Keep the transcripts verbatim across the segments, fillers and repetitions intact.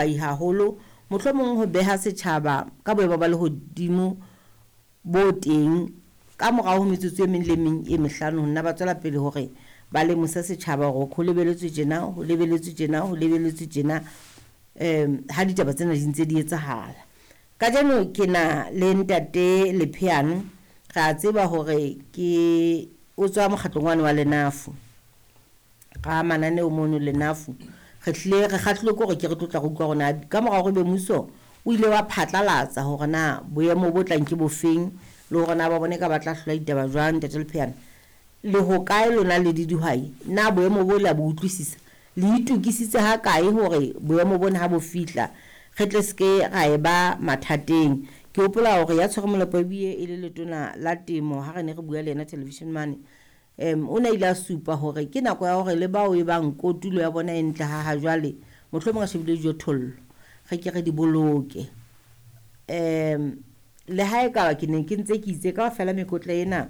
Haholo mohlomong ho beha setjhaba ka boemo ba lehodimo bo teng ka morao ho metsotso e meng le meng e mehlano. Ho nna ba tswela pele hore ba lemose setjhaba hore ho lebeletswe tjena, ho lebeletswe tjena, ho lebeletswe tjena, um ha ditaba tsena di ntse di etsahala. Kajeno ke na le Ntate Lepheane. Re a tseba hore ke o tswa mokgatlong wane wa Lenafu ra mananeo mono Lenafu. Re hlile re kgahlilwe ke hore ke re tlotla re utlwa hore na ka mora hore ebe mmuso o ile wa phatlalatsa hore na boemo bo tlang ke bofeng, le hore na ba bone ka ba tla hlola ditaba jwang. Ntate Lepheane, le hokae lona le le dihwai? Na boemo bo le a bo utlwisisa? Le itokisitse ha kae hore boemo bona ha bo fihla re tle se ke ra e ba mathateng? Ke hopola hore ya tshwere molepo ebile e le letona la temo, ha re ne re bua le yena television mane, um o ne ile a supa hore ke nako ya hore le bao e bang kotulo ya bona e ntle ha ha jwale, mohlomong a shebile dijothollo, re ke re di boloke. um Le ha ekaba ke ne ke ntse ke itse kaofela mekotla ena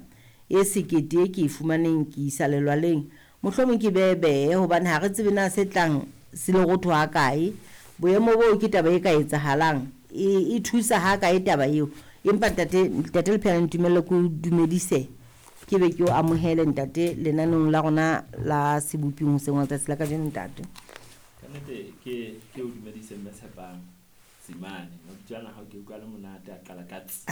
e sekete e ke e fumaneng ke isa lelwaleng, mohlomong ke behe, hobane ha re tsebe na se tlang se lerotho ha kae. Boemo boo ke taba e ka etsahalang, e, e thusa ha kae taba eo? Empa ntate ntate Lepheane, ntumelle ke o dumedise, ke be ke o amohele, ntate, lenaneong la rona la Seboping hoseng wa letsatsi la kajeno, ntate. Ka nnete ke ke o dumedise, Mme Tshepang Tsimane. Mabitso ana hao ke utlwa le monate a qala ka tsi.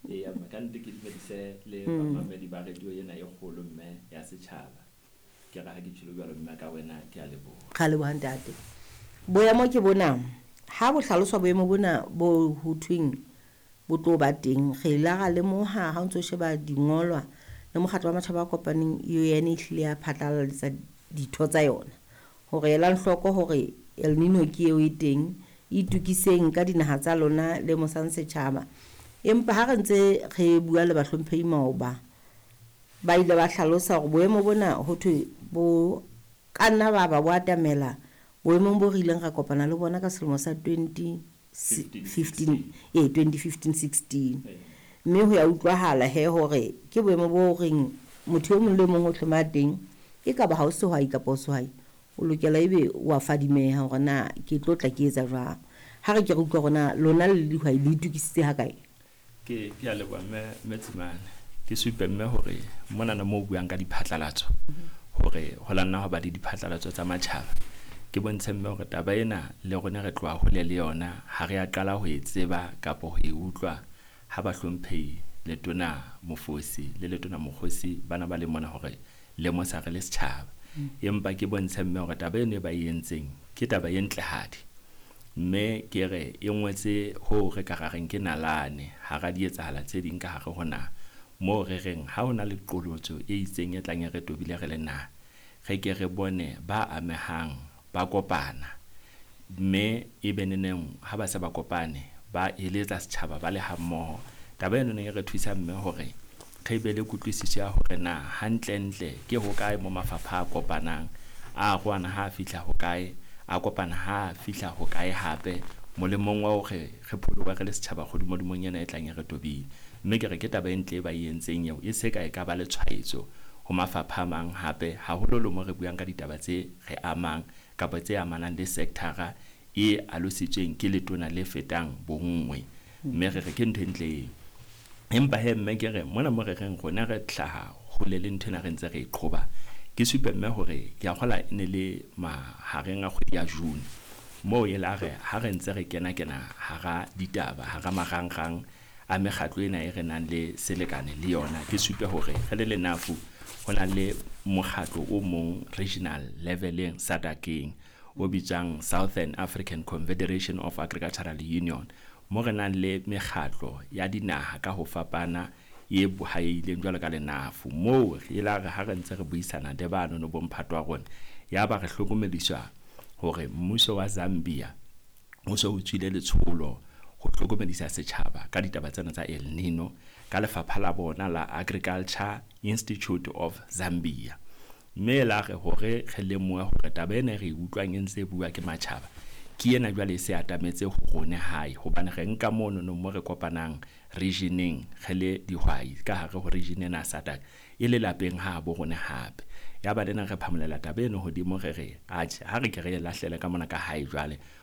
Eya mme, ka nnete ke dumedise le bamamedi ba radio ena e kgolo, mme, ya setjhaba. Ke re ha ke tjholo jwalo, mme, ka wena ke a leboha. Ra leboha, ntate. Boemo ke bona ha bo hlaloswa, boemo bona bo ho thweng bo tlo ba teng, re ile ra lemoha ha o ntso sheba dingolwa le mokgatlo wa matjhaba a kopaneng, U N, e hlile ya phatlalatsa ditho tsa yona hore elang hloko hore El Nino ke eo e teng, itukiseng ka dinaha tsa lona, lemosang setjhaba. Empa ha re ntse re bua le bahlomphehi maoba, ba ile ba hlalosa hore boemo bona ho thwe bo ka nna ba ba bo atamela boemong bo re ileng ra kopana le bona ka selemo sa twenty fifteen, ee, twenty fifteen sixteen. Mme ho ya utlwahala he hore ke boemo bo reng motho e mong le mong o hloma teng, e ka ba ha o sehwai kapa o sehwai, o lokela ebe wa fadimeha hore na ke tlo tla ke etsa jwang. Ha re ke re utlwa hore na lona le dihwai le itokisitse ha kae. Ke ke a leboha, mme mme Tsimane. Ke supe, mme, hore monana moo o buang ka diphatlalatso, hore ho la nna ho ba le diphatlalatso tsa matjhaba, ke bontshe, mme, hore taba ena le rona re tloha hole le yona. Ha re a qala ho e tseba kapa ho e utlwa ha bahlomphehi letona Mofosi le letona Mokgosi bana ba le mona hore lemosa re le setjhaba. Empa ke bontshe, mme, hore taba eno e ba e entseng ke taba e ntlehadi, mme ke re e ngwetse ho re ka ra reng ke nalane hara di etsahala tse ding ka hare ho naha, moo re reng ha hona le qolotso e itseng e tlang e re tobile re le naha, re ke re bone ba amehang ba kopana, mme e be neneng ha ba se ba kopane ba eletsa setjhaba ba le hammoho. Taba eno e re thusa, mme, hore re be le kutlwisiso ya hore na hantlentle ke hokae mo mafapha a kopanang, a arohana ha a fihla hokae, a kopana ha a fihla hokae hape, molemong wa hore re pholohe re le setjhaba kgodimodimong ena e tlang e re tobile. Mme ke re ke taba e ntle e ba e entseng eo, e se ka e ka ba le tshwaetso ho mafapha a mang hape, haholoholo mo re buang ka ditaba tse re amang kapa tse amanang le sector-a e alositsweng ke letona le fetang bonngwe. Mme re re ke ntho e ntle eo. Empa he, mme, ke re mona mo re reng rona re hlaha hole le nthwena re ntse re e qhoba, ke supe, mme, hore ke a kgola e ne le mahareng a kgwedi ya June moo e la re ha re ntse re kena kena hara ditaba, hara marangrang a mekgatlo ena e re nang le selekane le yona. Ke supe hore re le Lenafu ho na le mokgatlo o mong regional leveleng SADC-eng o bitswang Southern African Confederation of Agricultural Union, mo re nang le mekgatlo ya dinaha ka ho fapana e bohaileng jwalo ka Lenafu. Moo e la re ha re ntse re buisana le banono bomphato wa rona, ya ba re hlokomediswa hore mmuso wa Zambia o so o tswile letsholo ho hlokomedisa setjhaba ka ditaba tsena tsa El Nino ka lefapha la bona la Agriculture Institute of Zambia. Mme la re hore re lemohe hore taba ena e re e utlwang e ntse e bua ke matjhaba ke ena jwale e se atametse ho rone hae, hobane re nka monono mo re kopanang regioneng re le dihwai ka hare ho region ena ya SADC e le lapeng ha bo rone hape. Ya ba lena re phamolela taba eno hodimo, re re atjhe, ha re ke re e lahlele ka mona ka hae jwale.